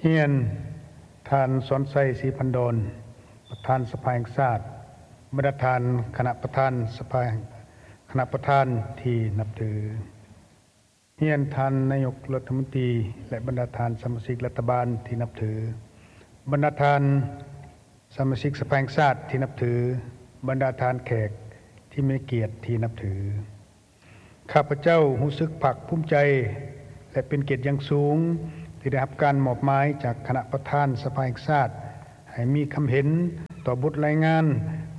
ຮຽນ ທ່ານ ສອນໄຊ ສີພັນດອນ ປະທານສະພາແຫ່ງຊາດ, ບັນດາທ່ານຄະນະປະທານສະພາ, ຄະນະປະທານທີ່ນັບຖື. ຮຽນທ່ານນາຍົກລັດຖະມົນຕີ ແລະ ບັນດາທ່ານສະມາຊິກລັດຖະບານທີ່ນັບຖື, ບັນດາທ່ານສະມາຊິກສະພາແຫ່ງຊາດທີ່ນັບຖື, ບັນດາທ່ານແຂກທີ່ມີກຽດທີ່ນັບຖື. ຂ້າພະເຈົ້າຮູ້ສຶກພາກພູມໃຈ ແລະ ເປັນກຽດຢ່າງສູງ ທີ່ໄດ້ຮັບການມອບໝາຍຈາກຄະນະປະທານສະພາແຫ່ງຊາດ ໃຫ້ມີຄຳເຫັນຕໍ່ບົດລາຍງານ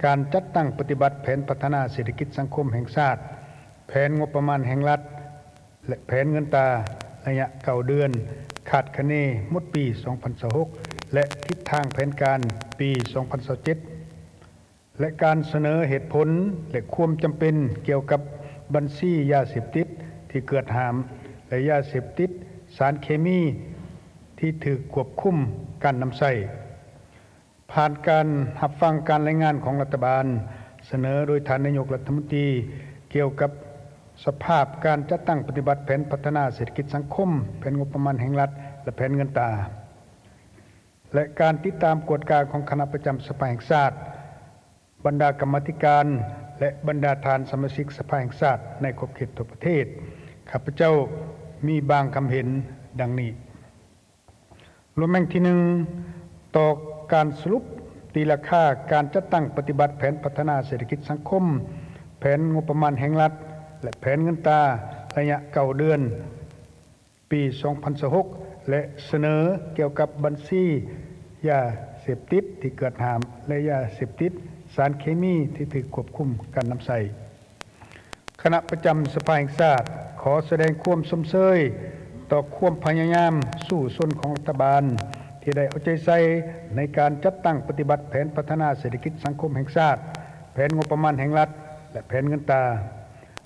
ການຈັດຕັ້ງປະຕິບັດແຜນພັດທະນາເສດຖະກິດສັງຄົມແຫ່ງຊາດ, ແຜນງົບປະມານແຫ່ງລັດ ແລະ ແຜນເງິນຕາ ໄລຍະເກົ້າເດືອນ, ຄາດຄະເນໝົດປີສອງພັນຊາວຫົກ ແລະ ທິດທາງແຜນການປີສອງພັນຊາວເຈັດ ແລະ ການສະເໜີເຫດຜົນ ແລະ ຄວາມຈຳເປັນກ່ຽວກັບບັນຊີຢາເສບຕິດທີ່ເກືອດຫ້າມ ແລະ ຢາເສບຕິດສານເຄມີທີ່ຖືກຄວບຄຸມການນຳໃຊ້. ຜ່ານການຮັບຟັງການລາຍງານຂອງລັດຖະບານ ສະເໜີໂດຍທ່ານນາຍົກລັດຖະມົນຕີ ກ່ຽວກັບສະພາບການຈັດຕັ້ງປະຕິບັດແຜນພັດທະນາເສດຖະກິດສັງຄົມ, ແຜນງົບປະມານແຫ່ງລັດ ແລະ ແຜນເງິນຕາ ແລະ ການຕິດຕາມກວດກາຂອງຄະນະປະຈຳສະພາແຫ່ງຊາດ, ບັນດາກຳມາທິການ ແລະ ບັນດາທ່ານສະມາຊິກສະພາແຫ່ງຊາດໃນຂອບເຂດທົ່ວປະເທດ, ຂ້າພະເຈົ້າມີບາງຄຳເຫັນດັ່ງນີ້. ລວມແຫ່ງທີໜຶ່ງ, ຕໍ່ການສະຫຼຸບຕີລາຄາການຈັດຕັ້ງປະຕິບັດແຜນພັດທະນາເສດຖະກິດສັງຄົມ, ແຜນງົບປະມານແຫ່ງລັດ ແລະ ແຜນເງິນຕາໄລຍະເກົ້າເດືອນ ປີສອງພັນຊາວຫົກ ແລະ ສະເໜີກ່ຽວກັບບັນຊີຢາເສບຕິດທີ່ເກືອດຫ້າມ ແລະ ຢາເສບຕິດສານເຄມີທີ່ຖືກຄວບຄຸມການນຳໃຊ້. ຄະນະປະຈຳສະພາແຫ່ງຊາດ ຂໍສະແດງຄວາມຊົມເຊີຍຕໍ່ຄວາມພະຍາຍາມສູ້ຊົນຂອງລັດຖະບານ ທີ່ໄດ້ເອົາໃຈໃສ່ໃນການຈັດຕັ້ງປະຕິບັດແຜນພັດທະນາເສດຖະກິດສັງຄົມແຫ່ງຊາດ, ແຜນງົບປະມານແຫ່ງລັດ ແລະ ແຜນເງິນຕາ.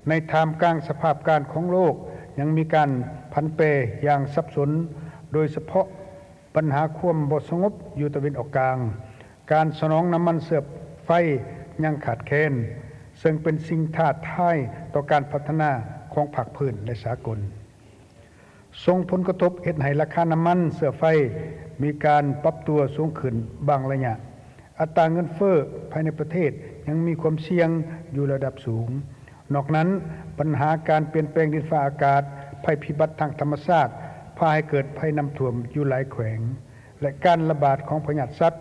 ໃນທ່າມກາງສະພາບການຂອງໂລກຍັງມີການຜັນແປຢ່າງສັບສົນ, ໂດຍສະເພາະບັນຫາຄວາມບໍ່ສະຫງົບຢູ່ຕາເວັນອອກກາງ, ການສະໜອງນ້ຳມັນເຊື້ອໄຟຍັງຂາດແຄນ, ເຊິ່ງເປັນສິ່ງທ້າທາຍຕໍ່ການພັດທະນາຂອງພາກພື້ນ ແລະ ສາກົນ. ສົ່ງຜົນກະທົບເຮັດໃຫ້ລາຄານ້ຳມັນເຊື້ອໄຟມີການປັບຕົວສູງຂຶ້ນບາງໄລຍະ. ອັດຕາເງິນເຟີ້ພາຍໃນປະເທດຍັງມີຄວາມສ່ຽງຢູ່ລະດັບສູງ. ນອກນັ້ນ, ບັນຫາການປ່ຽນແປງດິນຟ້າອາກາດ, ໄພພິບັດທາງທຳມະຊາດ ພາໃຫ້ເກີດໄພນ້ຳຖ້ວມຢູ່ຫຼາຍແຂວງ ແລະ ການລະບາດຂອງພະຍາດສັດ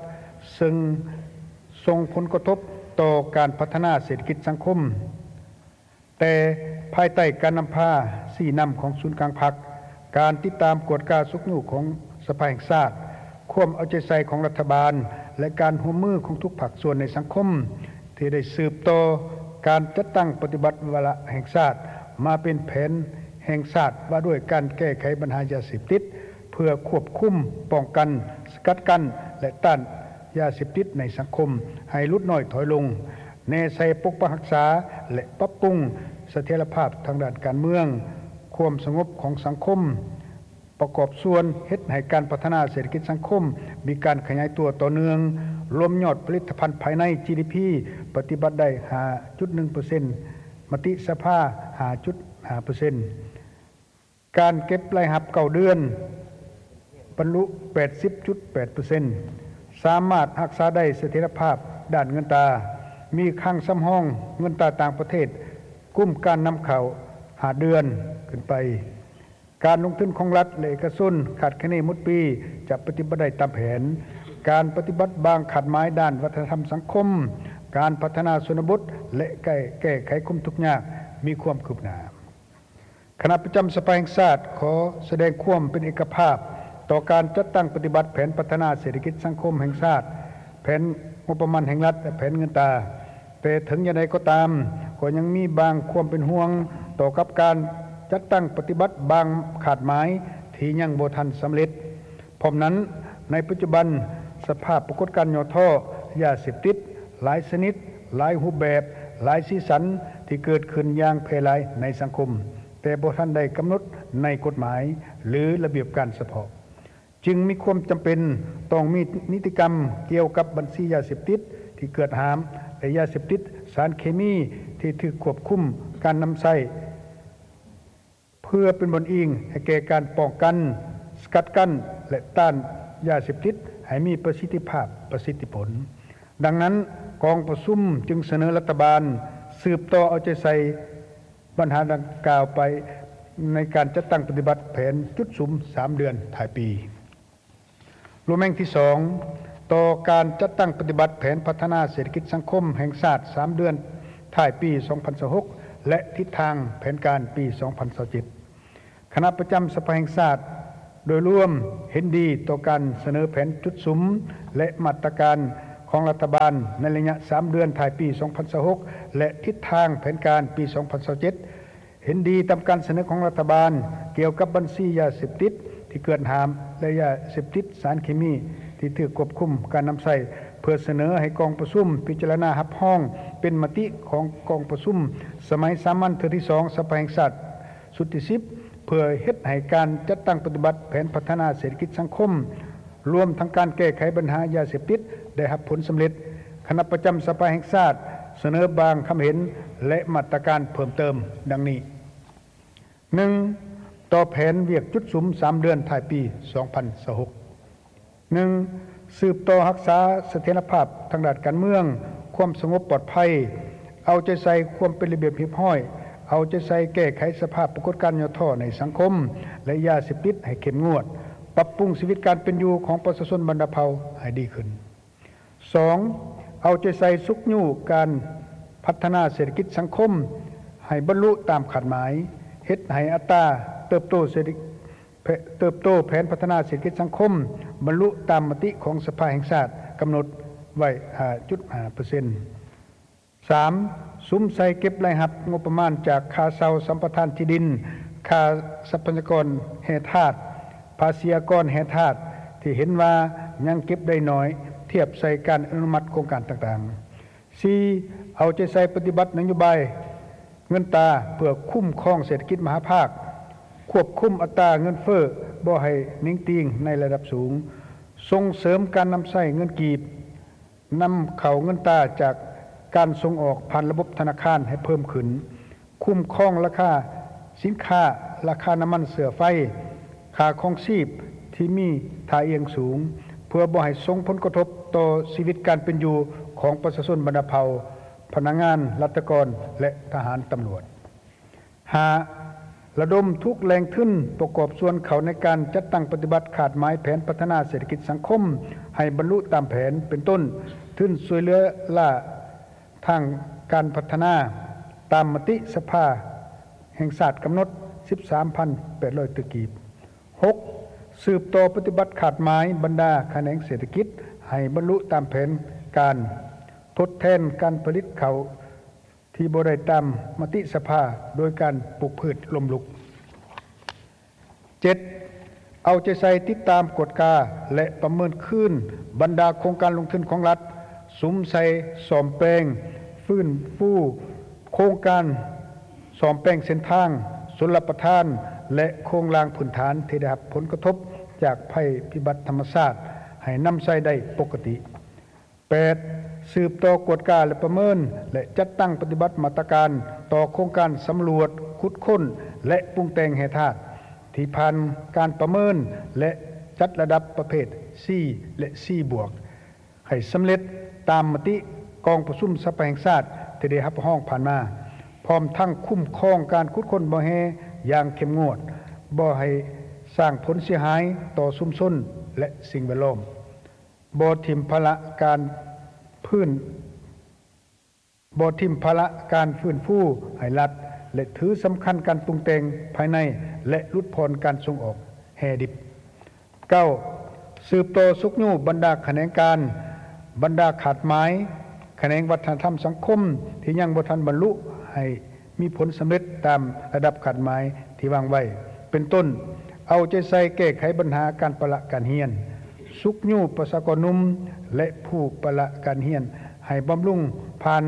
ເຊິ່ງສົ່ງຜົນກະທົບຕໍ່ການພັດທະນາເສດຖະກິດສັງຄົມ. ແຕ່ພາຍໃຕ້ການນຳພາຊີ້ນຳຂອງສູນກາງພັກ, ການຕິດຕາມກວດກາຊຸກຍູ້ຂອງສະພາແຫ່ງຊາດ, ຄວາມເອົາໃຈໃສ່ຂອງລັດຖະບານ ແລະ ການຮ່ວມມືຂອງທຸກພາກສ່ວນໃນສັງຄົມ ທີ່ໄດ້ສືບຕໍ່ການຈັດຕັ້ງປະຕິບັດວາລະແຫ່ງຊາດມາເປັນແຜນແຫ່ງຊາດວ່າດ້ວຍການແກ້ໄຂບັນຫາຢາເສບຕິດ ເພື່ອຄວບຄຸມ, ປ້ອງກັນ, ສະກັດກັ້ນ ແລະ ຕ້ານຢາເສບຕິດໃນສັງຄົມໃຫ້ຫຼຸດນ້ອຍຖອຍລົງ. ແນໃສ່ປົກປັກຮັກສາ ແລະ ປັບປຸງສະຖຽນລະພາບທາງດ້ານການເມືອງ, ຄວາມສະຫງົບຂອງສັງຄົມ, ປະກອບສ່ວນເຮັດໃຫ້ການພັດທະນາເສດຖະກິດສັງຄົມມີການຂະຫຍາຍຕົວຕໍ່ເນື່ອງ, ລວມຍອດຜະລິດຕະພັນພາຍໃນ ຈີດີພີ ປະຕິບັດໄດ້ຫ້າຈຸດໜຶ່ງເປີເຊັນ, ມະຕິສະພາຫ້າຈຸດຫ້າເປີເຊັນ. ການເກັບລາຍຮັບເກົ້າເດືອນບັນລຸແປດສິບຈຸດແປດເປີເຊັນ, ສາມາດຮັກສາໄດ້ສະຖຽນລະພາບດ້ານເງິນຕາ, ມີຄັງສຳຮອງເງິນຕາຕ່າງປະເທດກຸ້ມການນຳເຂົ້າຫ້າເດືອນຂຶ້ນໄປ. ການລົງທຶນຂອງລັດ ແລະ ເອກະຊົນຄາດຄະເນໝົດປີຈະປະຕິບັດໄດ້ຕາມແຜນ. ການປະຕິບັດບາງຄາດໝາຍດ້ານວັດທະນະທຳສັງຄົມ, ການພັດທະນາຊົນນະບົດ ແລະ ແກ້ ແກ້ໄຂຄວາມທຸກຍາກມີຄວາມຄືບໜ້າ. ຄະນະປະຈຳສະພາແຫ່ງຊາດ ຂໍສະແດງຄວາມເປັນເອກະພາບຕໍ່ການຈັດຕັ້ງປະຕິບັດແຜນພັດທະນາເສດຖະກິດສັງຄົມແຫ່ງຊາດ, ແຜນງົບປະມານແຫ່ງລັດ ແລະ ແຜນເງິນຕາ. ແຕ່ເຖິງຢ່າງໃດກໍຕາມ, ກໍຍັງມີບາງຄວາມເປັນຫ່ວງຕໍ່ກັບການຈັດຕັ້ງປະຕິບັດບາງຄາດໝາຍທີ່ຍັງບໍ່ທັນສຳເລັດ. ພ້ອມນັ້ນ, ໃນປັດຈຸບັນ, ສະພາບປາກົດການຫຍໍ້ທໍ້ຢາເສບຕິດ ຫຼາຍຊະນິດ, ຫຼາຍຮູບແບບ, ຫຼາຍສີສັນທີ່ເກີດຂຶ້ນຢ່າງແຜ່ຫຼາຍໃນສັງຄົມ, ແຕ່ບໍ່ທັນໄດ້ກຳນົດໃນກົດໝາຍ ຫຼື ລະບຽບການສະເພາະ, ຈຶ່ງມີຄວາມຈຳເປັນຕ້ອງມີນິຕິກຳກ່ຽວກັບບັນຊີຢາເສບຕິດທີ່ເກືອດຫ້າມ ແລະ ຢາເສບຕິດສານເຄມີທີ່ຖືກຄວບຄຸມການນຳໃຊ້. ເພື່ອເປັນບ່ອນອີງໃຫ້ແກ່ການປ້ອງກັນ, ສະກັດກັ້ນ ແລະ ຕ້ານ ຢາເສບຕິດໃຫ້ມີປະສິດທິພາບ, ປະສິດທິຜົນ. ດັ່ງນັ້ນ, ກອງປະຊຸມຈຶ່ງສະເໜີລັດຖະບານສືບຕໍ່ເອົາໃຈໃສ່ບັນຫາດັ່ງກ່າວໄປໃນການຈັດຕັ້ງປະຕິບັດແຜນຈຸດສຸມສາມເດືອນທ້າຍປີ. ລວມແຫ່ງທີສອງ ຕໍ່ການຈັດຕັ້ງປະຕິບັດແຜນພັດທະນາເສດຖະກິດສັງຄົມແຫ່ງຊາດສາມເດືອນທ້າຍປີສອງພັນຊາວຫົກ ແລະ ທິດທາງແຜນການປີສອງພັນຊາວເຈັດ. ຄະນະປະຈຳສະພາແຫ່ງຊາດໂດຍລວມເຫັນດີຕໍ່ການສະເໜີແຜນຈຸດສຸມ ແລະ ມາດຕະການຂອງລັດຖະບານໃນໄລຍະສາມເດືອນທ້າຍປີສອງພັນຊາວຫົກ ແລະ ທິດທາງແຜນການປີສອງພັນຊາວເຈັດ. ເຫັນດີຕາມການສະເໜີຂອງລັດຖະບານກ່ຽວກັບບັນຊີຢາເສບຕິດທີ່ເກີນຫ້າມ ແລະ ຢາເສບຕິດສານເຄມີທີ່ຖືກຄວບຄຸມການນຳໃຊ້ ເພື່ອສະເໜີໃຫ້ກອງປະຊຸມພິຈາລະນາຮັບຮອງເປັນມະຕິຂອງກອງປະຊຸມສະໄໝສາມັນເທື່ອທີສອງສະພາແຫ່ງຊາດຊຸດທີສິບ ເພື່ອເຮັດໃຫ້ການຈັດຕັ້ງປະຕິບັດແຜນພັດທະນາເສດຖະກິດສັງຄົມ ລວມທັງການແກ້ໄຂບັນຫາຢາເສບຕິດໄດ້ຮັບຜົນສຳເລັດ. ຄະນະປະຈຳສະພາແຫ່ງຊາດສະເໜີບາງຄຳເຫັນ ແລະ ມາດຕະການເພີ່ມເຕີມດັ່ງນີ້. ໜຶ່ງ ຕໍ່ແຜນວຽກຈຸດສຸມສາມເດືອນທ້າຍປີສອງພັນຊາວຫົກ. ໜຶ່ງ ສືບຕໍ່ຮັກສາສະຖຽນລະພາບທາງດ້ານການເມືອງ, ຄວາມສະຫງົບປອດໄພ, ເອົາໃຈໃສ່ຄວາມເປັນລະບຽບຮຽບຮ້ອຍ, ເອົາໃຈໃສ່ແກ້ໄຂສະພາບປາກົດການຫຍໍ້ທໍ້ໃນສັງຄົມ ແລະ ຢາເສບຕິດໃຫ້ເຂັ້ມງວດ, ປັບປຸງຊີວິດການເປັນຢູ່ຂອງປະຊາຊົນບັນດາເຜົ່າໃຫ້ດີຂຶ້ນ. ສອງ ເອົາໃຈໃສ່ຊຸກຍູ້ການພັດທະນາເສດຖະກິດສັງຄົມໃຫ້ບັນລຸຕາມຄາດໝາຍ, ເຮັດໃຫ້ອັດຕາເຕີບໂຕເສດຖະ ເຕີບໂຕແຜນພັດທະນາເສດຖະກິດສັງຄົມບັນລຸຕາມມະຕິຂອງສະພາແຫ່ງຊາດກຳນົດໄວ້ຫ້າຈຸດຫ້າເປີເຊັນ. ສາມ ສຸມໃສ່ເກັບລາຍຮັບງົບປະມານຈາກຄ່າເຊົ່າສຳປະທານທີ່ດິນ, ຄ່າຊັບພະຍາກອນແຮ່ທາດ, ພາສີອາກອນແຮ່ທາດ ທີ່ເຫັນວ່າຍັງເກັບໄດ້ໜ້ອຍທຽບໃສ່ການອະນຸມັດໂຄງການຕ່າງໆ. ສີ່ ເອົາໃຈໃສ່ປະຕິບັດນະໂຍບາຍເງິນຕາເພື່ອຄຸ້ມຄອງເສດຖະກິດມະຫາພາກ, ຄວບຄຸມອັດຕາເງິນເຟີ້ບໍ່ໃຫ້ໜິງຕີງໃນລະດັບສູງ, ສົ່ງເສີມການນຳໃຊ້ເງິນກີບ, ນຳເຂົ້າເງິນຕາຈາກການສົ່ງອອກຜ່ານລະບົບທະນາຄານໃຫ້ເພີ່ມຂຶ້ນ, ຄຸ້ມຄອງລາຄາສິນຄ້າ, ລາຄານ້ຳມັນເຊື້ອໄຟ, ຄ່າຄອງຊີບທີ່ມີທ່າອ່ຽງສູງ ເພື່ອບໍ່ໃຫ້ສົ່ງຜົນກະທົບຕໍ່ຊີວິດການເປັນຢູ່ຂອງປະຊາຊົນບັນດາເຜົ່າ, ພະນັກງານລັດຖະກອນ ແລະ ທະຫານຕຳຫຼວດ. ຫ້າ ລະດົມທຸກແຫຼ່ງທຶນປະກອບສ່ວນເຂົ້າໃນການຈັດຕັ້ງປະຕິບັດຄາດໝາຍແຜນພັດທະນາເສດຖະກິດສັງຄົມໃຫ້ບັນລຸຕາມແຜນ, ເປັນຕົ້ນ ທຶນຊ່ວຍເຫຼືອລ້າທາງການພັດທະນາ ຕາມມະຕິສະພາແຫ່ງຊາດກຳນົດ ສິບສາມພັນແປດຮ້ອຍຕື້ກີບ. ຫົກ ສືບຕໍ່ປະຕິບັດຄາດໝາຍບັນດາຂະແໜງເສດຖະກິດໃຫ້ບັນລຸຕາມແຜນການ, ທົດແທນການຜະລິດເຂົ້າ ທີ່ບໍ່ໄດ້ຕາມມະຕິສະພາໂດຍການປູກພືດລົ້ມລຸກ. ເຈັດ ເອົາໃຈໃສ່ຕິດຕາມ, ກວດກາ ແລະ ປະເມີນຄືນບັນດາໂຄງການລົງທຶນຂອງລັດ, ສຸມໃສ່ສ້ອມແປງ, ຟື້ນຟູໂຄງການສ້ອມແປງເສັ້ນທາງ, ຊົນລະປະທານ ແລະ ໂຄງລ່າງພື້ນຖານທີ່ໄດ້ຮັບຜົນກະທົບຈາກໄພພິບັດທຳມະຊາດ ໃຫ້ນຳໃຊ້ໄດ້ປົກກະຕິ. ແປດ ສືບຕໍ່ກວດກາ ແລະ ປະເມີນ ແລະ ຈັດຕັ້ງປະຕິບັດມາດຕະການຕໍ່ໂຄງການສຳຫຼວດ, ຂຸດຄົ້ນ ແລະ ປຸງແຕ່ງແຮ່ທາດ ທີ່ຜ່ານການປະເມີນ ແລະ ຈັດລະດັບປະເພດ C ແລະ C ບວກ ໃຫ້ສຳເລັດຕາມມະຕິກອງປະຊຸມສະພາແຫ່ງຊາດທີ່ໄດ້ຮັບຮອງຜ່ານມາ, ພ້ອມທັງຄຸ້ມຄອງການຂຸດຄົ້ນບໍ່ແຮ່ຢ່າງເຂັ້ມງວດ, ບໍ່ໃຫ້ສ້າງຜົນເສຍຫາຍຕໍ່ຊຸມຊົນ ແລະ ສິ່ງແວດລ້ອມ. ບໍ່ຖິ້ມພາລະການຟື້ນ, ບໍ່ຖິ້ມພາລະການຟື້ນຟູໃຫ້ລັດ ແລະ ຖືສຳຄັນການປຸງແຕ່ງພາຍໃນ ແລະ ຫຼຸດຜ່ອນການສົ່ງອອກແຮ່ດິບ. ເກົ້າ ສືບຕໍ່ຊຸກຍູ້ບັນດາຂະແໜງການ, ບັນດາຂາດໝາຍ, ຂະແໜງວັດທະນະທຳສັງຄົມທີ່ຍັງບໍ່ທັນບັນລຸໃຫ້ ມີຜົນສຳເລັດຕາມລະດັບຄາດໝາຍທີ່ວາງໄວ້, ເປັນຕົ້ນ ເອົາໃຈໃສ່ແກ້ໄຂບັນຫາການປະລະການຮຽນ, ຊຸກຍູ້ປະຊາກອນໜຸ່ມ ແລະ ຜູ້ປະລະການຮຽນໃຫ້ບຳລຸງຜ່ານ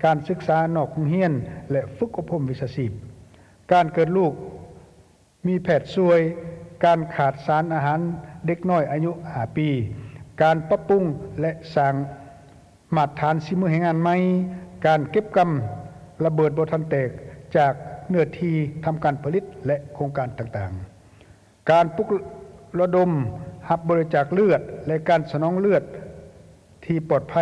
ການສຶກສານອກໂຮງຮຽນ ແລະ ຝຶກອົບຮົມວິຊາຊີບ. ການເກີດລູກມີແພດຊ່ວຍ, ການຂາດສານອາຫານເດັກນ້ອຍອາຍຸຫ້າປີ, ການປັບປຸງ ແລະ ສ້າງ ມາດຖານສີມືແຮງງານໃໝ່, ການເກັບກຳລະເບີດບໍ່ທັນແຕກຈາກເນື້ອທີ່ທຳການຜະລິດ ແລະ ໂຄງການຕ່າງໆ, ການປຸກລະດົມຫ ຮັບບໍລິຈາກເລືອດ ແລະ ການສະໜອງເລືອດທີ່ປອດໄພ,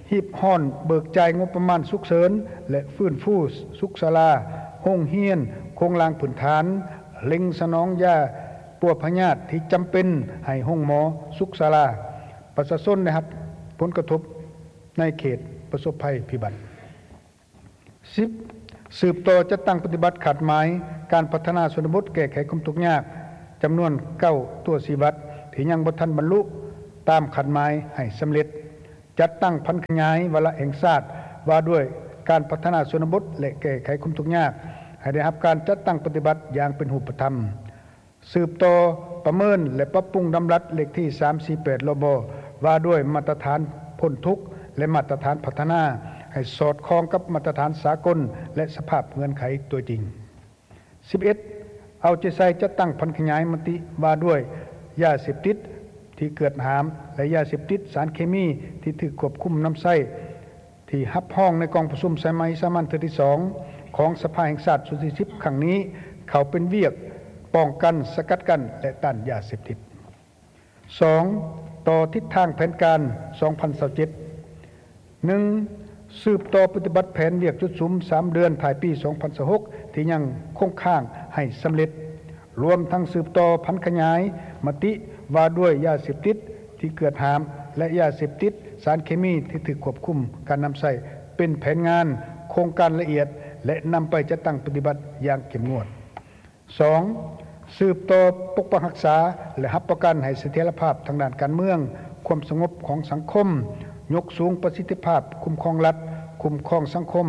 ຮີບຮ້ອນເບີກຈ່າຍງົບປະມານສຸກເສີນ ແລະ ຟື້ນຟູສຸກສາລາ, ໂຮງຮຽນ, ໂຄງລ່າງພື້ນຖານ, ເລັ່ງສະໜອງຢາປົວພະຍາດທີ່ຈຳເປັນໃຫ້ໂຮງໝໍ, ສຸກສາລາ. ປະຊາຊົນໄດ້ຮັບຜົນກະທົບໃນເຂດປະສົບໄພພິບັດ. ສິບ, ສືບຕໍ່ຈັດຕັ້ງປະຕິບັດຄາດໝາຍການພັດທະນາຊົນນະບົດແກ້ໄຂຄວາມທຸກຍາກ ຈຳນວນເກົ້າຕົວຊີ້ວັດ ທີ່ຍັງບໍ່ທັນບັນລຸຕາມຄາດໝາຍໃຫ້ສຳເລັດ. ຈັດຕັ້ງຜັນຂະຫຍາຍວາລະແຫ່ງຊາດວ່າດ້ວຍການພັດທະນາຊົນນະບົດ ແລະ ແກ້ໄຂຄວາມທຸກຍາກ ໃຫ້ໄດ້ຮັບການຈັດຕັ້ງປະຕິບັດຢ່າງເປັນຮູບປະທຳ. ສືບຕໍ່ປະເມີນ ແລະ ປັບປຸງດຳລັດເລກທີສາມສີ່ແປດ ລບ ວ່າດ້ວຍມາດຕະຖານພົ້ນທຸກ ແລະ ມາດຕະຖານພັດທະນາ ໃຫ້ສອດຄ່ອງກັບມາດຕະຖານສາກົນ ແລະ ສະພາບເງື່ອນໄຂຕົວຈິງ. ສິບເອັດ, ເອົາໃຈໃສ່ຈັດຕັ້ງຜັນຂະຫຍາຍມະຕິວ່າດ້ວຍຢາເສບຕິດທີ່ເກືອດຫາມ ແລະ ຢາເສບຕິດ, ສານເຄມີທີ່ຖືກຄວບຄຸມນຳໃຊ້ ທີ່ຮັບຮອງໃນກອງປະຊຸມສະໄໝສາມັນເທື່ອທີສອງ ຂອງສະພາແຫ່ງຊາດຊຸດທີສິບ ຄັ້ງນີ້ ເຂົ້າເປັນວຽກປ້ອງກັນ, ສະກັດກັ້ນ ແລະ ຕ້ານຢາເສບຕິດ. ສອງ, ຕໍ່ທິດທາງແຜນການສອງພັນຊາວເຈັດ. ໜຶ່ງ, ສືບຕໍ່ປະຕິບັດແຜນວຽກຈຸດສຸມສາມເດືອນທ້າຍປີສອງພັນຊາວຫົກ ທີ່ຍັງຄົງຄ້າງໃຫ້ສຳເລັດ, ລວມທັງສືບຕໍ່ຜັນຂະຫຍາຍມະຕິວ່າດ້ວຍຢາເສບຕິດທີ່ເກີດຫາມ ແລະ ຢາເສບຕິດ, ສານເຄມີທີ່ຖືກຄວບຄຸມການນຳໃຊ້ ເປັນແຜນງານໂຄງການລະອຽດ ແລະ ນຳໄປຈັດຕັ້ງປະຕິບັດຢ່າງເຂັ້ມງວດ. ສອງ, ສືບຕໍ່ປົກປັກຮັກສາ ແລະ ຮັບປະກັນໃຫ້ສະຖຽນລະພາບທາງດ້ານການເມືອງ, ຄວາມສະຫງົບຂອງສັງຄົມ, ຍົກສູງປະສິດທິພາບຄຸ້ມຄອງລັດ, ຄຸ້ມຄອງສັງຄົມ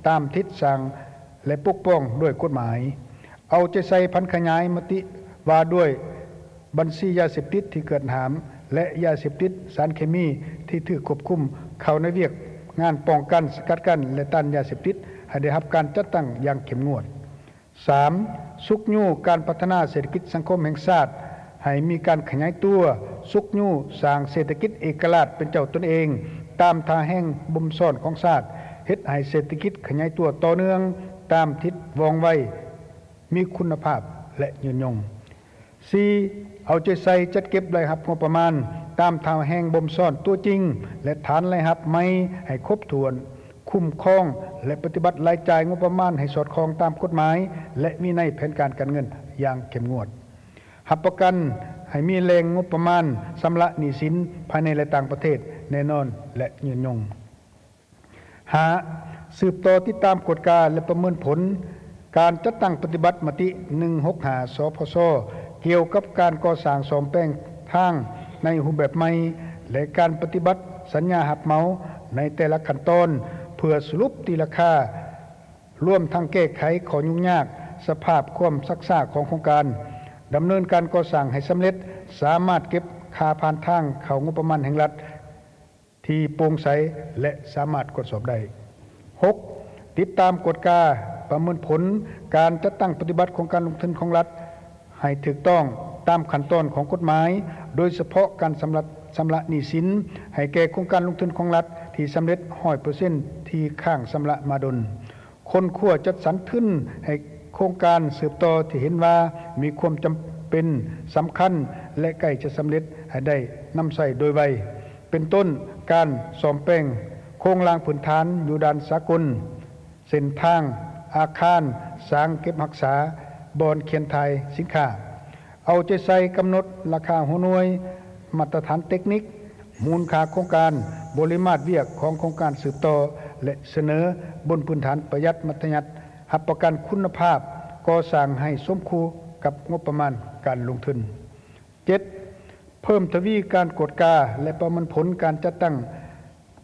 ຕາມທິດສ້າງ ແລະ ປົກປ້ອງດ້ວຍກົດໝາຍ. ເອົາໃຈໃສ່ຜັນຂະຫຍາຍມະຕິວ່າດ້ວຍບັນຊີຢາເສບຕິດທີ່ເກີດຫາມ ແລະ ຢາເສບຕິດ, ສານເຄມີທີ່ຖືກຄວບຄຸມ ເຂົ້າໃນວຽກງານປ້ອງກັນ, ສະກັດກັ້ນ ແລະ ຕ້ານຢາເສບຕິດ ໃຫ້ໄດ້ຮັບການຈັດຕັ້ງຢ່າງເຂັ້ມງວດ. ສາມ, ຊຸກຍູ້ການພັດທະນາເສດຖະກິດສັງຄົມແຫ່ງຊາດ ໃຫ້ມີການຂະຫຍາຍຕົວ, ຊຸກຍູ້ສ້າງເສດຖະກິດເອກະລາດເປັນເຈົ້າຕົນເອງ ຕາມທ່າແຮງບົ່ມຊ້ອນຂອງຊາດ, ເຮັດໃຫ້ເສດຖະກິດຂະຫຍາຍຕົວຕໍ່ເນື່ອງຕາມທິດວ່ອງໄວ, ມີຄຸນນະພາບ ແລະ ຍືນຍົງ. ສີ່, ເອົາໃຈໃສ່ຈັດເກັບລາຍຮັບງົບປະມານຕາມທ່າແຮງບົ່ມຊ້ອນຕົວຈິງ ແລະ ຖານລາຍຮັບໃໝ່ໃຫ້ຄົບຖ້ວນ, ຄຸ້ມຄອງ ແລະ ປະຕິບັດລາຍຈ່າຍງົບປະມານໃຫ້ສອດຄ່ອງຕາມກົດໝາຍ ແລະ ວິໄນແຜນການການເງິນຢ່າງເຂັ້ມງວດ. ຮັບປະກັນໃຫ້ມີແຫຼ່ງງົບປະມານຊຳລະໜີ້ສິນພາຍໃນ ແລະ ຕ່າງປະເທດແນ່ນອນ ແລະ ຍືນຍົງ. ຫ້າ, ສືບຕໍ່ຕິດຕາມກວດກາ ແລະ ປະເມີນຜົນການຈັດຕັ້ງປະຕິບັດມະຕິໜຶ່ງຫົກຫ້າ ສພຊ ກ່ຽວກັບການກໍ່ສ້າງສ້ອມແປງທາງໃນຮູບແບບໃໝ່ ແລະ ການປະຕິບັດສັນຍາຮັບເໝົາໃນແຕ່ລະຂັ້ນຕອນ ເພື່ອສະຫຼຸບຕີລາຄາ, ລວມທັງແກ້ໄຂຂໍ້ຫຍຸ້ງຍາກ, ສະພາບຄວາມຊັກຊ້າຂອງໂຄງການ, ດຳເນີນການກໍ່ສ້າງໃຫ້ສຳເລັດ, ສາມາດເກັບຄ່າຜ່ານທາງເຂົ້າງົບປະມານແຫ່ງລັດ ທີ່ໂປ່ງໃສ ແລະ ສາມາດກວດສອບໄດ້. ຫົກ, ຕິດຕາມກວດກາປະເມີນຜົນການຈັດຕັ້ງປະຕິບັດໂຄງການລົງທຶນຂອງລັດ ໃຫ້ຖືກຕ້ອງຕາມຂັ້ນຕອນຂອງກົດໝາຍ, ໂດຍສະເພາະການຊຳລະ ຊຳລະໜີ້ສິນໃຫ້ແກ່ໂຄງການລົງທຶນຂອງລັດທີ່ສຳເລັດຮ້ອຍເປີເຊັນ ທີ່ຄ້າງຊຳລະມາດົນ. ຄົ້ນຄວ້າຈັດສັນທຶນໃຫ້ໂຄງການສືບຕໍ່ທີ່ເຫັນວ່າມີຄວາມຈຳເປັນສຳຄັນ ແລະ ໃກ້ຈະສຳເລັດໃຫ້ໄດ້ນຳໃຊ້ໂດຍໄວ, ເປັນຕົ້ນ ການສ້ອມແປງໂຄງລ່າງພື້ນຖານຢູ່ດ່ານສາກົນ, ເສັ້ນທາງ, ອາຄານ, ສາງເກັບຮັກສາ, ບ່ອນຂຽນຖ່າຍສິນຄ້າ. ເອົາໃຈໃສ່ກຳນົດລາຄາຫົວໜ່ວຍ, ມາດຕະຖານເຕັກນິກ, ມູນຄ່າໂຄງການ, ບໍລິມາດວຽກຂອງໂຄງການສືບຕໍ່ ແລະ ສະເໜີບົນພື້ນຖານປະຢັດມັດທະຍັດ, ຮັບປະກັນຄຸນນະພາບກໍ່ສ້າງໃຫ້ສົມຄູ່ກັບງົບປະມານການລົງທຶນ. ເຈັດ, ເພີ່ມທະວີການກວດກາ ແລະ ປະເມີນຜົນການຈັດຕັ້ງ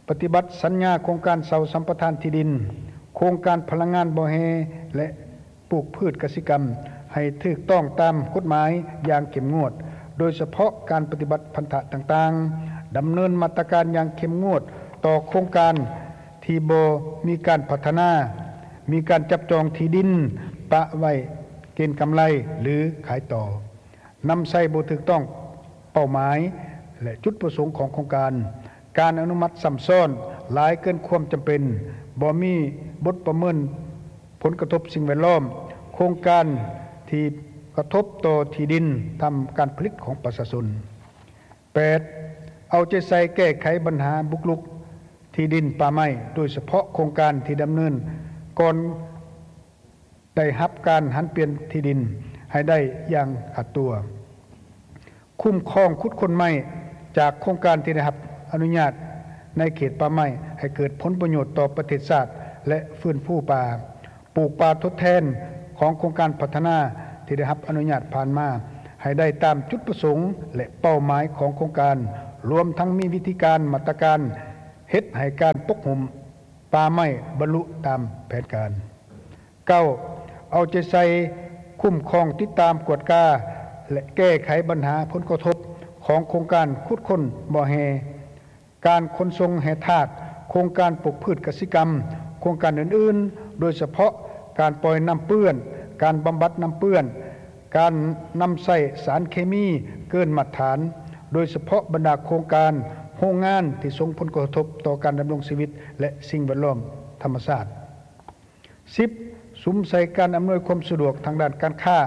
ປະຕິບັດສັນຍາໂຄງການເຊົ່າສຳປະທານທີ່ດິນ, ໂຄງການພະລັງງານບໍ່ແຮ່ ແລະ ປູກພືດກະສິກຳ ໃຫ້ຖືກຕ້ອງຕາມກົດໝາຍຢ່າງເຂັ້ມງວດ, ໂດຍສະເພາະການປະຕິບັດພັນທະຕ່າງໆ, ດຳເນີນມາດຕະການຢ່າງເຂັ້ມງວດຕໍ່ໂຄງການທີ່ບໍ່ມີການພັດທະນາ, ມີການຈັບຈອງທີ່ດິນປະໄວ້ເກນກຳໄລ ຫຼື ຂາຍຕໍ່. ນຳໃຊ້ບໍ່ຖືກຕ້ອງເປົ້າໝາຍ ແລະ ຈຸດປະສົງຂອງໂຄງການ, ການອະນຸມັດຊ້ຳຊ້ອນຫຼາຍເກີນຄວາມຈຳເປັນ, ບໍ່ມີບົດປະເມີນຜົນກະທົບສິ່ງແວດລ້ອມ, ໂຄງການທີ່ກະທົບຕໍ່ທີ່ດິນທຳການຜະລິດຂອງປະຊາຊົນ. ແປດ ເອົາໃຈໃສ່ແກ້ໄຂບັນຫາບຸກລຸກທີ່ດິນປ່າໄມ້, ໂດຍສະເພາະໂຄງການທີ່ດຳເນີນກ່ອນໄດ້ຮັບການຫັນປ່ຽນທີ່ດິນໃຫ້ໄດ້ຢ່າງຂາດຕົວ. ຄຸ້ມຄອງຂຸດຄົ້ນໄມ້ຈາກໂຄງການທີ່ໄດ້ຮັບອະນຸຍາດໃນເຂດປ່າໄມ້ ໃຫ້ເກີດຜົນປະໂຫຍດຕໍ່ປະເທດຊາດ ແລະ ຟື້ນຟູປ່າ. ປູກປ່າທົດແທນຂອງໂຄງການພັດທະນາທີ່ໄດ້ຮັບອະນຸຍາດຜ່ານມາ ໃຫ້ໄດ້ຕາມຈຸດປະສົງ ແລະ ເປົ້າໝາຍຂອງໂຄງການ, ລວມທັງມີວິທີການ, ມາດຕະການເຮັດໃຫ້ການປົກຫຸ້ມປ່າໄມ້ບັນລຸຕາມແຜນການ. ເກົ້າ ເອົາໃຈໃສ່ຄຸ້ມຄອງ, ຕິດຕາມ, ກວດກາ ແລະ ແກ້ໄຂບັນຫາຜົນກະທົບຂອງໂຄງການຂຸດຄົ້ນບໍ່ແຮ່, ການຂົນສົ່ງແຮ່ທາດ, ໂຄງການປູກພືດກະສິກຳ, ໂຄງການອື່ນໆ, ໂດຍສະເພາະການປ່ອຍນ້ຳເປື້ອນ, ການບຳບັດນ້ຳເປື້ອນ, ການນຳໃຊ້ສານເຄມີເກີນມາດຕະຖານ, ໂດຍສະເພາະບັນດາໂຄງການ, ໂຮງງານທີ່ສົ່ງຜົນກະທົບຕໍ່ການດຳລົງຊີວິດ ແລະ ສິ່ງແວດລ້ອມທຳມະຊາດ. ສິບ ສຸມໃສ່ການອຳນວຍຄວາມສະດວກທາງດ້ານການຄ້າ,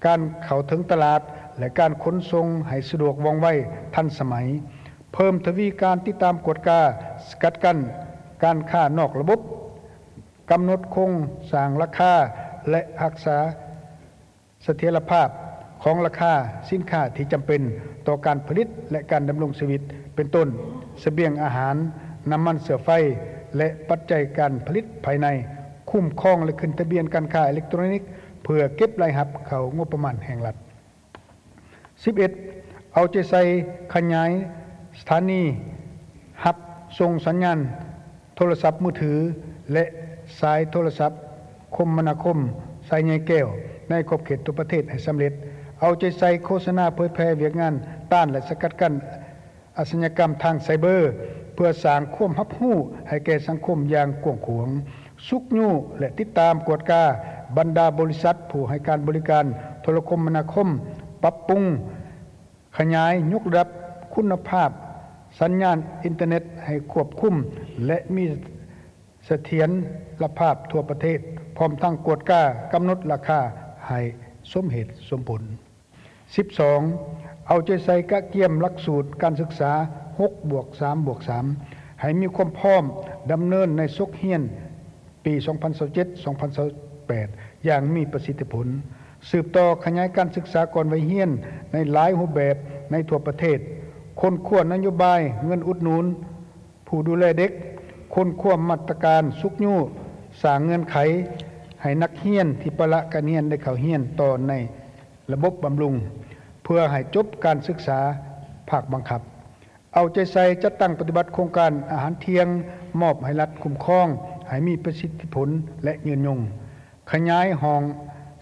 ການເຂົ້າເຖິງຕະຫຼາດ ແລະ ການຂົນສົ່ງໃຫ້ສະດວກ, ວ່ອງໄວ, ທັນສະໄໝ. ເພີ່ມທະວີການຕິດຕາມ, ກວດກາ, ສະກັດກັ້ນການຄ້ານອກລະບົບ, ກຳນົດໂຄງສ້າງລາຄາ ແລະ ຮັກສາ ສະຖຽນລະພາບຂອງລາຄາສິນຄ້າທີ່ຈຳເປັນຕໍ່ການຜະລິດ ແລະ ການດຳລົງຊີວິດ ເປັນຕົ້ນ ສະບຽງອາຫານ, ນ້ຳມັນເຊື້ອໄຟ ແລະ ປັດໄຈການຜະລິດພາຍໃນ, ຄຸ້ມຄອງ ແລະ ຂຶ້ນທະບຽນການຄ້າເອເລັກໂຕຣນິກ ເພື່ອເກັບລາຍຮັບເຂົ້າງົບປະມານແຫ່ງລັດ. ສິບເອັດ ເອົາໃຈໃສ່ຂະຫຍາຍສະຖານີຮັບສົ່ງສັນຍານໂທລະສັບມືຖື ແລະ ສາຍໂທລະສັບຄົມມະນາຄົມສາຍໃຍແກ້ວ ໃນຂອບເຂດທົ່ວປະເທດໃຫ້ສຳເລັດ. ເອົາໃຈໃສ່ໂຄສະນາເຜີຍແຜ່ວຽກງານຕ້ານ ແລະ ສະກັດກັ້ນອາຊະຍາກຳທາງໄຊເບີ ເພື່ອສ້າງຄວາມຮັບຮູ້ໃຫ້ແກ່ສັງຄົມຢ່າງກວ້າງຂວາງ. ຊຸກຍູ້ ແລະ ຕິດຕາມກວດກາບັນດາບໍລິສັດຜູ້ໃຫ້ການບໍລິການໂທລະຄົມມະນາຄົມ, ປັບປຸງ, ຂະຫຍາຍ, ຍົກລະດັບຄຸນນະພາບສັນຍານອິນເຕີເນັດໃຫ້ຄວບຄຸມ ແລະ ມີສະຖຽນລະພາບທົ່ວປະເທດ, ພ້ອມທັງກວດກາກຳນົດລາຄາໃຫ້ສົມເຫດສົມຜົນ. ສິບສອງ ເອົາໃຈໃສ່ກະກຽມຫຼັກສູດການສຶກສາ ຫົກບວກສາມບວກສາມ ໃຫ້ມີຄວາມພ້ອມດຳເນີນໃນສົກຮຽນ ປີສອງພັນຊາວເຈັດ ສອງພັນຊາວແປດ ຢ່າງມີປະສິດທິຜົນ, ສືບຕໍ່ຂະຫຍາຍການສຶກສາກ່ອນໄວຮຽນໃນຫຼາຍຮູບແບບໃນທົ່ວປະເທດ, ຄົ້ນຄວ້ານະໂຍບາຍເງິນອຸດໜູນຜູ້ດູແລເດັກ, ຄົ້ນຄວ້າມາດຕະການຊຸກຍູ້, ສ້າງເງື່ອນໄຂໃຫ້ນັກຮຽນທີ່ປະລະການຮຽນໄດ້ເຂົ້າຮຽນຕໍ່ໃນ ລະບົບບຳລຸງ ເພື່ອໃຫ້ຈົບການສຶກສາພາກບັງຄັບ. ເອົາໃຈໃສ່ຈັດຕັ້ງປະຕິບັດໂຄງການອາຫານທ່ຽງ, ມອບໃຫ້ລັດຄຸ້ມຄອງໃຫ້ມີປະສິດທິຜົນ ແລະ ຍືນຍົງ. ຂະຫຍາຍຫ້ອງ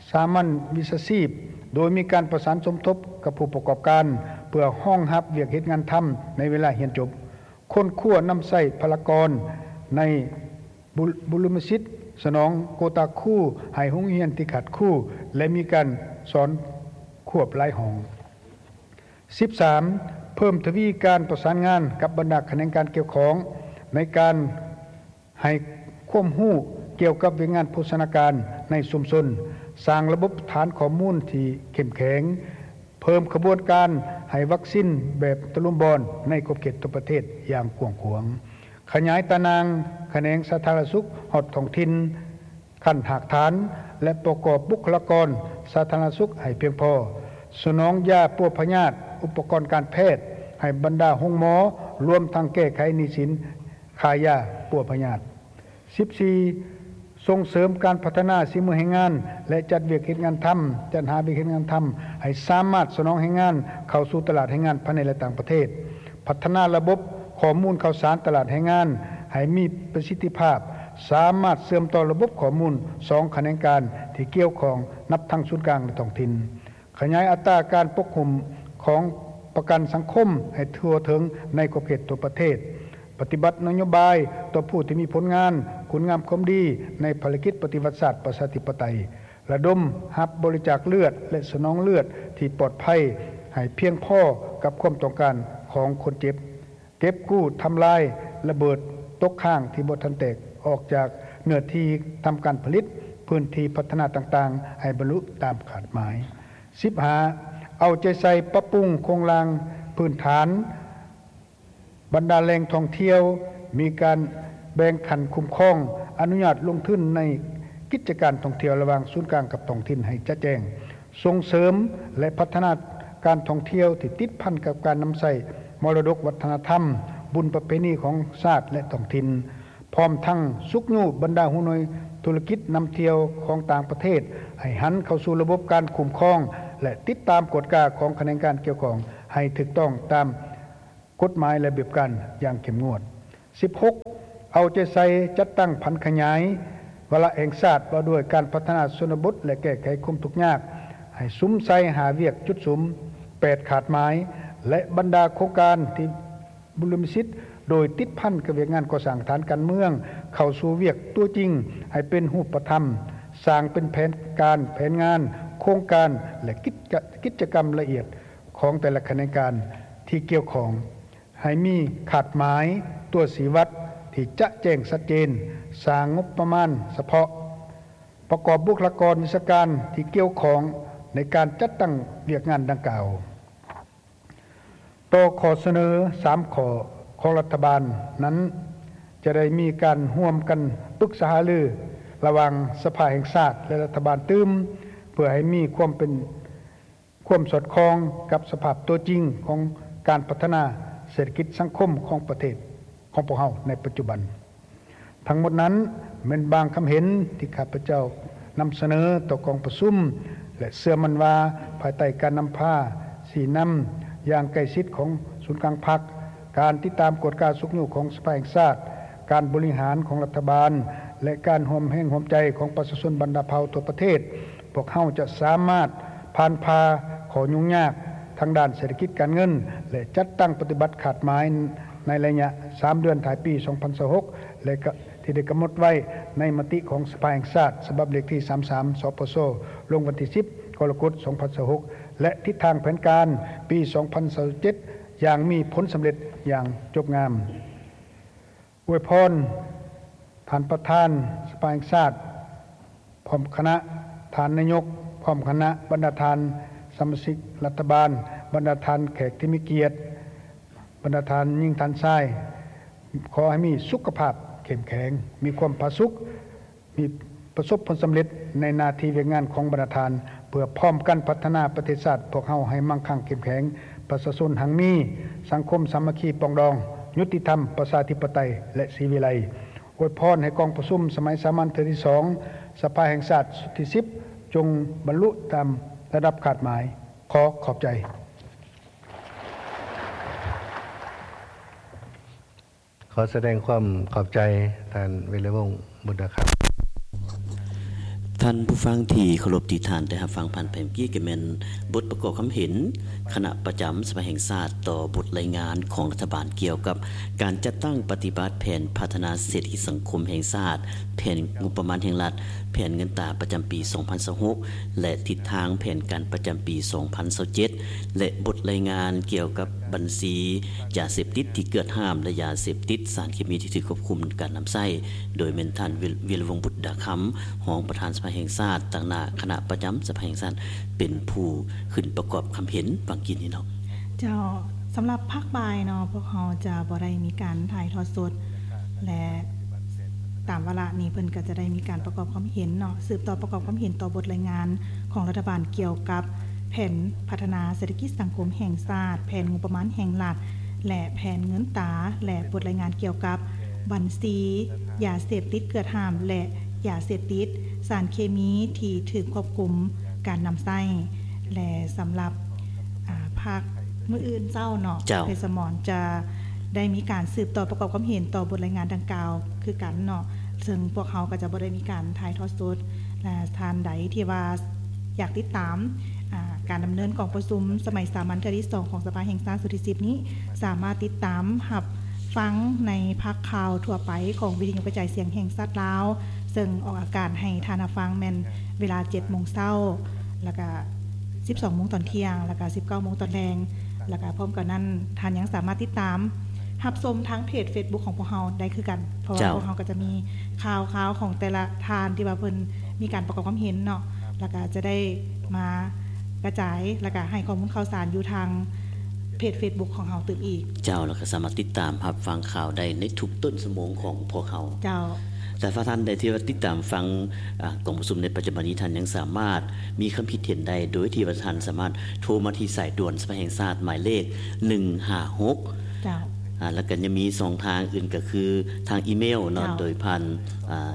ສາມັນວິຊາຊີບ ໂດຍມີການປະສານສົມທົບກັບຜູ້ປະກອບການ ເພື່ອຮອງຮັບວຽກເຮັດງານທຳໃນເວລາຮຽນຈົບ. ຄົ້ນຄວ້ານຳໃຊ້ພະລາກອນໃນ ບຸ ບຸລິມະສິດ, ສະໜອງໂກຕາຄູໃຫ້ໂຮງຮຽນທີ່ຂາດຄູ ແລະ ມີການສອນຄວບຫຼາຍຫ້ອງ. ສິບສາມ ເພີ່ມທະວີການປະສານງານກັບບັນດາຂະແໜງການກ່ຽວຂ້ອງ ໃນການໃຫ້ຄວາມຮູ້ກ່ຽວກັບວຽກງານໂພຊະນາການໃນຊຸມຊົນ, ສ້າງລະບົບຖານຂໍ້ມູນທີ່ເຂັ້ມແຂງ, ເພີ່ມຂະບວນການໃຫ້ວັກຊິນແບບຕະລຸມບອນໃນຂອບເຂດທົ່ວປະເທດຢ່າງກວ້າງຂວາງ, ຂະຫຍາຍຕາໜ່າງຂະແໜງສາທາລະນະສຸກຮອດທ້ອງຖິ່ນຂັ້ນຮາກຖານ ແລະ ປະກອບບຸກຄະລາກອນສາທາລະນະສຸກໃຫ້ພຽງພໍ, ສະໜອງຢາປົວພະຍາດ, ອຸປະກອນການແພດໃຫ້ບັນດາໂຮງໝໍ, ລວມທັງແກ້ໄຂໜີ້ສິນຄ່າຢາປົວພະຍາດ. ສິບສີ່ ສົ່ງເສີມການພັດທະນາສີມືແຮງງານ ແລະ ຈັດວຽກເຮັດງານທຳ, ຈັດຫາວຽກເຮັດງານທຳ ໃຫ້ສາມາດສະໜອງແຮງງານເຂົ້າສູ່ຕະຫຼາດແຮງງານພາຍໃນ ແລະ ຕ່າງປະເທດ, ພັດທະນາລະບົບຂໍ້ມູນຂ່າວສານຕະຫຼາດແຮງງານໃຫ້ມີປະສິດທິພາບ, ສາມາດເຊື່ອມຕໍ່ລະບົບຂໍ້ມູນສອງຂະແໜງການທີ່ກ່ຽວຂ້ອງ ນັບທັງສູນກາງ ແລະ ທ້ອງຖິ່ນ. ຂະຫຍາຍອັດຕາການປົກຫຸ້ມຂອງປະກັນສັງຄົມໃຫ້ທົ່ວເຖິງໃນຂອບເຂດທົ່ວປະເທດ, ປະຕິບັດນະໂຍບາຍຕໍ່ຜູ້ທີ່ມີຜົນງານ, ຄຸນງາມຄວາມດີໃນພາລະກິດປະຕິວັດຊາດປະຊາທິປະໄຕ, ລະດົມຮັບບໍລິຈາກເລືອດ ແລະ ສະໜອງເລືອດທີ່ປອດໄພໃຫ້ພຽງພໍກັບຄວາມຕ້ອງການຂອງຄົນເຈັບ, ເກັບກູ້, ທຳລາຍລະເບີດຕົກຄ້າງທີ່ບໍ່ທັນແຕກອອກຈາກເນື້ອທີ່ທຳການຜະລິດ, ພື້ນທີ່ພັດທະນາຕ່າງໆ ໃຫ້ບັນລຸຕາມຄາດໝາຍ. ສິບຫ້າ ເອົາໃຈໃສ່ປັບປຸງໂຄງລ່າງ ພື້ນຖານ, ບັນດາແຫຼ່ງທ່ອງທ່ຽວມີການແບ່ງຂັ້ນຄຸ້ມຄອງ, ອະນຸຍາດລົງທຶນໃນກິດຈະການທ່ອງທ່ຽວລະຫວ່າງສູນກາງກັບທ້ອງຖິ່ນໃຫ້ຈະແຈ້ງ, ສົ່ງເສີມ ແລະ ພັດທະນາການທ່ອງທ່ຽວທີ່ຕິດພັນກັບການນຳໃຊ້ມໍລະດົກວັດທະນະທຳ, ບຸນປະເພນີຂອງຊາດ ແລະ ທ້ອງຖິ່ນ, ພ້ອມທັງຊຸກຍູ້ບັນດາຫົວໜ່ວຍທຸລະກິດນຳທ່ຽວຂອງຕ່າງປະເທດ ໃຫ້ຫັນເຂົ້າສູ່ລະບົບການຄຸ້ມຄອງ ແລະ ຕິດຕາມກວດກາຂອງຂະແໜງການກ່ຽວຂ້ອງໃຫ້ຖືກຕ້ອງຕາມ ກົດໝາຍລະບຽບການຢ່າງເຂັ້ມງວດ. ສິບຫົກ ເອົາໃຈໃສ່ຈັດຕັ້ງຜັນຂະຫຍາຍວາລະແຫ່ງຊາດວ່າດ້ວຍການພັດທະນາຊົນນະບົດ ແລະ ແກ້ໄຂຄວາມທຸກຍາກ ໃຫ້ສຸມໃສ່ຫ້າວຽກຈຸດສຸມ, ແປດຂາດໝາຍ ແລະ ບັນດາໂຄງການທີ່ບຸລິມະສິດ ໂດຍຕິດພັນກັບວຽກງານກໍ່ສ້າງຖານການເມືອງ ເຂົ້າສູ່ວຽກຕົວຈິງໃຫ້ເປັນຮູບປະທຳ, ສ້າງເປັນແຜນການ, ແຜນງານ, ໂຄງການ ແລະ ກິດຈະ, ກິດຈະກຳລະອຽດ ຂອງແຕ່ລະຂະແໜງການທີ່ກ່ຽວຂ້ອງ ໃຫ້ມີຄາດໝາຍ, ຕົວຊີ້ວັດທີ່ຈະແຈ້ງຊັດເຈນ, ສ້າງງົບປະມານສະເພາະ, ປະກອບບຸກຄະລາກອນວິຊາການທີ່ກ່ຽວຂ້ອງໃນການຈັດຕັ້ງວຽກງານດັ່ງກ່າວ. ຕໍ່ຂໍ້ສະເໜີສາມຂໍ້ຂອງລັດຖະບານນັ້ນ, ຈະໄດ້ມີການຮ່ວມກັນປຶກສາຫາລືລະຫວ່າງສະພາແຫ່ງຊາດ ແລະ ລັດຖະບານຕື່ມ ເພື່ອໃຫ້ມີຄວາມເປັນ ຄວາມສອດຄ່ອງກັບສະພາບຕົວຈິງຂອງການພັດທະນາເສດຖະກິດສັງຄົມຂອງປະເທດຂອງພວກເຮົາໃນປັດຈຸບັນ. ທັງໝົດນັ້ນແມ່ນບາງຄຳເຫັນທີ່ຂ້າພະເຈົ້ານຳສະເໜີຕໍ່ກອງປະຊຸມ ແລະ ເຊື່ອໝັ້ນວ່າພາຍໃຕ້ການນຳພາຊີ້ນຳຢ່າງໃກ້ຊິດຂອງສູນກາງພັກ, ການຕິດຕາມກວດກາຊຸກຍູ້ຂອງສະພາແຫ່ງຊາດ, ການບໍລິຫານຂອງລັດຖະບານ ແລະ ການຮ່ວມແຮງຮ່ວມໃຈຂອງປະຊາຊົນບັນດາເຜົ່າທົ່ວປະເທດ, ພວກເຮົາຈະສາມາດຜ່ານຜ່າຂໍ້ຫຍຸ້ງຍາກທາງດ້ານເສດຖະກິດການເງິນ ແລະ ຈັດຕັ້ງປະຕິບັດຄາດໝາຍໃນໄລຍະສາມເດືອນທ້າຍປີສອງພັນຊາວຫົກ ແລະ ກະ ທີ່ໄດ້ກຳນົດໄວ້ໃນມະຕິຂອງສະພາແຫ່ງຊາດ ສະບັບເລກທີສາມສາມ ສປຊ ລົງວັນທີສິບ ກໍລະກົດ ສອງພັນຊາວຫົກ ແລະ ທິດທາງແຜນການປີສອງພັນຊາວເຈັດ ຢ່າງມີຜົນສຳເລັດຢ່າງຈົບງາມ. ອວຍພອນທ່ານປະທານສະພາແຫ່ງຊາດ ພ້ອມຄະນະ, ທ່ານນາຍົກ ພ້ອມຄະນະ, ບັນດາທ່ານສະມາຊິກລັດຖະບານ, ບັນດາທ່ານແຂກທີ່ມີກຽດ, ບັນດາທ່ານຍິງທ່ານຊາຍ, ຂໍໃຫ້ມີສຸຂະພາບເຂັ້ມແຂງ, ມີຄວາມຜາສຸກ, ມີປະສົບຜົນສຳເລັດໃນໜ້າທີ່ວຽກງານຂອງບັນດາທ່ານ, ເພື່ອພ້ອມກັນພັດທະນາປະເທດຊາດພວກເຮົາໃຫ້ມັ່ງຄັ່ງເຂັ້ມແຂງ, ປະຊາຊົນຮັ່ງມີ, ສັງຄົມສາມັກຄີປອງດອງ, ຍຸຕິທຳ, ປະຊາທິປະໄຕ ແລະ ສີວິໄລ. ອວຍພອນໃຫ້ກອງປະຊຸມສະໄໝສາມັນເທື່ອທີສອງ ສະພາແຫ່ງຊາດຊຸດທີສິບ ຈົ່ງບັນລຸຕາມລະດັບຄາດໝາຍ. ຂໍຂອບໃຈ. ຂໍສະແດງຄວາມຂອບໃຈທ່ານ ວິລະວົງ ບຸດດາຄຳ. ທ່ານຜູ້ຟັງທີ່ເຄົາລົບ, ທີ່ທ່ານໄດ້ຮັບຟັງຜ່ານໄປເມື່ອກີ້ ກໍແມ່ນບົດປະກອບຄຳເຫັນຄະນະປະຈຳສະພາແຫ່ງຊາດຕໍ່ບົດລາຍງານຂອງລັດຖະບານກ່ຽວກັບການຈັດຕັ້ງປະຕິບັດແຜນພັດທະນາເສດຖະກິດສັງຄົມແຫ່ງຊາດ, ແຜນງົບປະມານແຫ່ງລັດ, ແຜນເງິນຕາປະຈຳປີສອງພັນຊາວຫົກ ແລະ ທິດທາງແຜນການປະຈຳປີສອງພັນຊາວເຈັດ ແລະ ບົດລາຍງານກ່ຽວກັບບັນຊີຢາເສບຕິດທີ່ເກີດຫ້າມ ແລະ ຢາເສບຕິດ, ສານເຄມີທີ່ຖືກຄວບຄຸມການນຳໃຊ້, ໂດຍແມ່ນທ່ານ ວິລະ ວິລະວົງ ບຸດດາຄຳ, ຮອງປະທານສະພາແຫ່ງຊາດ, ຕາງໜ້າຄະນະປະຈຳສະພາແຫ່ງຊາດ ເປັນຜູ້ຂຶ້ນປະກອບຄຳເຫັນຫວ່າງກີ້ນີ້ເນາະ. ເຈົ້າ, ສຳລັບພາກບ່າຍເນາະ, ພວກເຮົາຈະບໍ່ໄດ້ມີການຖ່າຍທອດສົດ ແລະ ຕາມວາລະນີ້ເພິ່ນກໍຈະໄດ້ມີການປະກອບຄວາມເຫັນເນາະ, ສືບຕໍ່ປະກອບຄວາມເຫັນຕໍ່ບົດລາຍງານຂອງລັດຖະບານກ່ຽວກັບແຜນພັດທະນາເສດຖະກິດສັງຄົມແຫ່ງຊາດ, ແຜນງົບປະມານແຫ່ງລັດ ແລະ ແຜນເງິນຕາ ແລະ ບົດລາຍງານກ່ຽວກັບບັນຊີຢາເສບຕິດເກືອດຫ້າມ ແລະ ຢາເສບຕິດ, ສານເຄມີທີ່ຖືກຄວບຄຸມການນຳໃຊ້ ແລະ ສຳລັບ ອາ ພາກມື້ອື່ນເຊົ້າເນາະ, ເຈົ້າ. ເພດສະໝອນຈະໄດ້ມີການສືບຕໍ່ປະກອບຄວາມເຫັນຕໍ່ບົດລາຍງານດັ່ງກ່າວຄືກັນເນາະ, ເຊິ່ງພວກເຮົາກໍຈະບໍ່ໄດ້ມີການຖ່າຍທອດສົດ ແລະ ທ່ານໃດທີ່ວ່າຢາກຕິດຕາມ ອາ ການດຳເນີນກອງປະຊຸມສະໄໝສາມັນເທື່ອທີສອງຂອງສະພາແຫ່ງຊາດຊຸດທີສິບນີ້ ສາມາດຕິດຕາມຮັບຟັງໃນພາກຂ່າວທົ່ວໄປຂອງວິທະຍຸກະຈາຍສຽງແຫ່ງຊາດລາວ, ເຊິ່ງອອກອາກາດໃຫ້ທ່ານຮັບຟັງແມ່ນເວລາເຈັດໂມງເຊົ້າ ແລ້ວກະ ສິບສອງໂມງຕອນທ່ຽງ ແລ້ວກະ ສິບເກົ້າໂມງຕອນແລງ, ແລ້ວກະພ້ອມກັນນັ້ນ ທ່ານຍັງສາມາດຕິດຕາມຮັບຊົມທາງເພຈເຟສບຸກຂອງພວກເຮົາໄດ້ຄືກັນ, ເພາະວ່າ ເຈົ້າ ພວກເຮົາກໍຈະມີຂ່າວຄາວຂອງແຕ່ລະທ່ານທີ່ວ່າເພິ່ນມີການປະກອບຄວາມເຫັນເນາະ, ແລ້ວກະຈະໄດ້ມາກະຈາຍ ແລ້ວກະໃຫ້ຂໍ້ມູນຂ່າວສານຢູ່ທາງ ເພຈເຟສບຸກຂອງເຮົາຕື່ມອີກ. ເຈົ້າ ແລ້ວກໍສາມາດຕິດຕາມຮັບຟັງຂ່າວໄດ້ໃນທຸກຕົ້ນຊົ່ວໂມງຂອງພວກເຮົາ. ເຈົ້າ ແຕ່ຖ້າທ່ານໃດທີ່ວ່າຕິດຕາມຟັງ ອາ ກອງປະຊຸມໃນປັດຈຸບັນນີ້ ທ່ານຍັງສາມາດມີຄຳຄິດເຫັນໄດ້ ໂດຍທີ່ວ່າທ່ານສາມາດໂທມາທີ່ສາຍດ່ວນສະພາແຫ່ງຊາດໝາຍເລກໜຶ່ງຫ້າຫົກ. ເຈົ້າ ອາ ແລ້ວກໍຍັງມີຊ່ອງທາງອື່ນ ກໍຄືທາງອີເມວເນາະ ເຈົ້າ ໂດຍຜ່ານ ອາ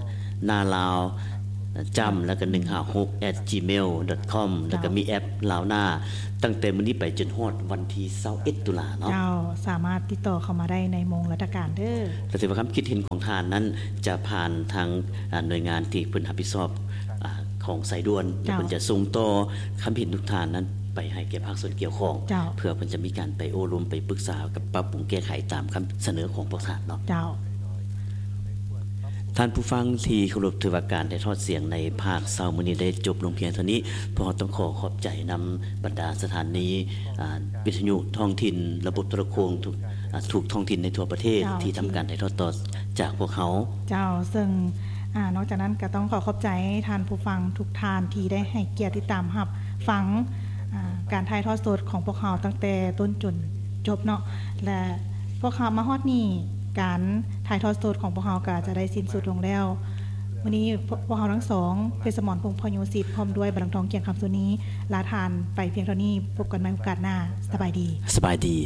ນາລາວຈ້ຳ ແລ້ວກໍໜຶ່ງຫ້າຫົກ ແອັດຈີເມວດອດຄອມ ແລ້ວກໍມີແອັບລາວນາ ຕັ້ງແຕ່ມື້ນີ້ໄປຈົນຮອດວັນທີຊາວເອັດຕຸລາເນາະ. ເຈົ້າ ສາມາດຕິດຕໍ່ເຂົ້າມາໄດ້ໃນໂມງລາຊະການເດີ. ກໍຖືວ່າຄຳຄິດເຫັນຂອງທ່ານນັ້ນຈະຜ່ານທາງ ອາ ໜ່ວຍງານທີ່ເພິ່ນຮັບຜິດຊອບ ອາ ຂອງສາຍດ່ວນ ແລ້ວເພິ່ນຈະສົ່ງຕໍ່ຄຳເຫັນທຸກທ່ານນັ້ນໄປໃຫ້ແກ່ພາກສ່ວນກ່ຽວຂ້ອງ ເຈົ້າ ເພື່ອເພິ່ນຈະມີການໄປໂອ້ລົມ ໄປປຶກສາກັບປັບປຸງແກ້ໄຂຕາມຄຳສະເໜີຂອງພວກທ່ານເນາະ. ເຈົ້າ ທ່ານຜູ້ຟັງທີ່ເຄົາລົບ, ຖືວ່າການຖ່າຍທອດສຽງໃນພາກເຊົ້າມື້ນີ້ໄດ້ຈົບລົງພຽງເທົ່ານີ້. ພວກເຮົາຕ້ອງຂໍຂອບໃຈນຳບັນດາສະຖານີ ອາ ວິທະຍຸທ້ອງຖິ່ນ, ລະບົບໂທລະໂຄ່ງ ທຸກ ອາ ທຸກທ້ອງຖິ່ນໃນທົ່ວປະເທດ ເຈົ້າ ທີ່ທຳການຖ່າຍທອດຕໍ່ຈາກພວກເຮົາ. ເຈົ້າ ເຊິ່ງ ອາ ນອກຈາກນັ້ນກໍຕ້ອງຂໍຂອບໃຈທ່ານຜູ້ຟັງທຸກທ່ານທີ່ໄດ້ໃຫ້ກຽດຕິດຕາມຮັບຟັງ ອາ ການຖ່າຍທອດສົດຂອງພວກເຮົາຕັ້ງແຕ່ຕົ້ນຈົນຈົບເນາະ ແລະ ພວກເຮົາມາຮອດນີ້ ການຖ່າຍທອດສົດຂອງພວກເຮົາກໍຈະໄດ້ສິ້ນສຸດລົງແລ້ວ. ມື້ນີ້ພວກ ພວກເຮົາທັງສອງ ເພັດສະໝອນ ພົງພະໂຍສິດ ພ້ອມດ້ວຍ ບັນລັງທອງ ກຽງຄຳ ສຸນີ ລາທ່ານໄປພຽງເທົ່ານີ້. ພົບກັນໃໝ່ໂອກາດໜ້າ. ສະບາຍດີ. ສະບາຍດີ.